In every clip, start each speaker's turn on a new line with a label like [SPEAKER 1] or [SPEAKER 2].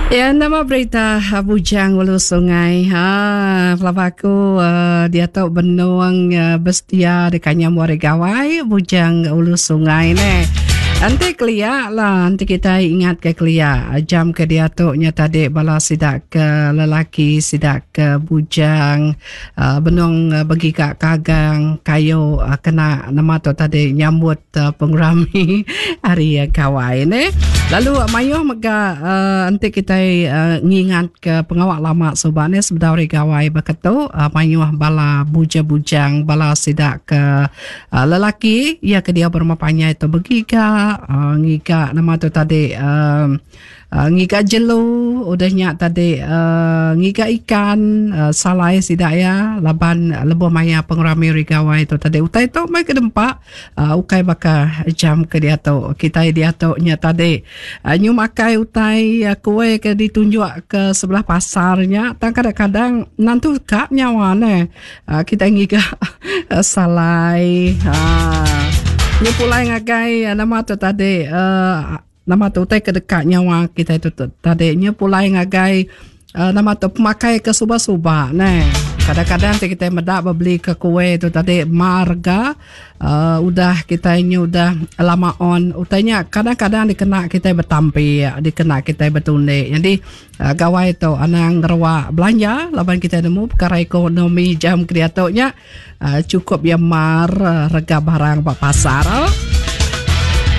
[SPEAKER 1] Ya nama berita bujang ulu sungai ha pelaba aku uh, diatu benung uh, besedia deka nyambung hari gawai bujang ulu sungai ne. Enti kelia lah, enti kita ingat ke kelia jam ke diatu nya tadi bala sida ke lelaki sida ke bujang uh, benung begiga kagang kayu uh, kena nama tu tadi nyambut pengerami hari gawai ne. Lalu mayuh mega uh, enti kitai uh, ngingat ke pengawa lama suba ne sebedau hari gawai baka tu uh, mayuh bala bujang-bujang bala sida ke uh, lelaki iya ke diau berumah panjai tu begiga uh, ngiga nama tu tadi uh, Ngiga jelu udah nya tadi ngiga ikan salai sida iya laban lebuh maya pengerami hari gawai tu tadi utai tu meh ke dempa ukai baka jam ke diatu kitai diatu nya tadi nyu makai utai kuih ke ditunjuk ke sebelah pasar nya tang kadang-kadang nentu ka nyawa neh kitai ngiga salai aaa nyu pulai ngagai nama tu tadi aaa. Nama tu utai ke deka nyawa kitai tu tadi nya pulai ngagai uh, nama tu pemakai ke suba-suba neh. Kadang-kadang ti kitai meda bebeli ke kuih tu tadi mar ga uh, udah kitai nya udah lama on utai nya kadang-kadang dikena kitai betampi dikena kitai betundi. Jadi uh, gawai tu anang ngeruak belanja laban kitai nemu perkara ekonomi jam ke diatu nya uh, cukup ya mar uh, rega barang ba pasar.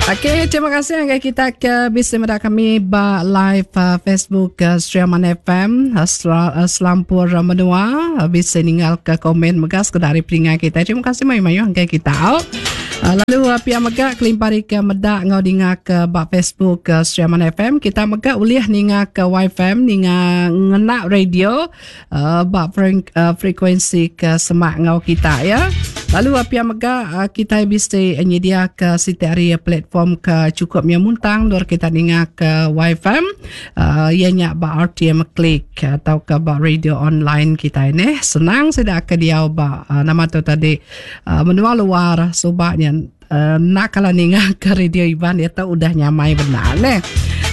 [SPEAKER 1] Okey, terima kasih ngagai kita ke bisi meda kami ba live uh, Facebook uh, Sri Aman FM uh, uh, selampur uh, menua uh, bisi ninggal ke komen mega sekeda ari peninga kita. Terima kasih mayuh-mayuh ngagai kita. Uh, lalu uh, pia mega kelimpah ari ke meda enggau ninga ke ba Facebook uh, Sri Aman FM kita mega ulih ninga ke YFM ninga ngena radio uh, ba uh, frekuensi ke semak enggau kita ya. Lalu uh, pia mega uh, kita bisi nyedia ke siti ari platform ke cukup nya muntang dur kita ninga ke YFM uh, iya nya ba RTM Click atau ke ba radio online kita ini. Senang sida ke diau ba uh, nama tu tadi uh, menua luar suba nya Enda kala ninga ke radio Iban diatu udah nyamai bendar neh.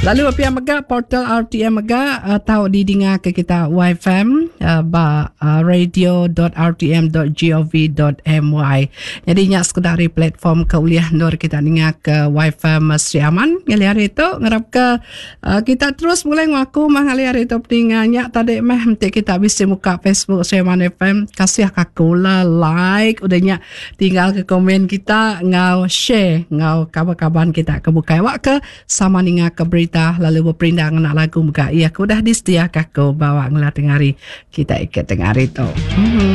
[SPEAKER 1] Lalu pia mega portal RTM mega uh, tau didinga ke kita YFM uh, ba uh, radio.rtm.gov.my. Jadi nya sekeda ari platform ke ulih endur kita ninga ke YFM Sri Aman ngalih hari tu ngarap ke uh, kita terus bulih enggau aku mah ngalih hari tu peninga nya tadi meh enti kita bisi muka Facebook Sri Aman FM kasih ka aku lah like udah nya Tinggal ke komen kita enggau share enggau kaban-kaban kita ke bukai awak ke sama ninga ke berita lalu beperindang ngena lagu mega iya ke udah disediaka aku bawa ngela tengah hari kita ke tengah hari tu. Hmm.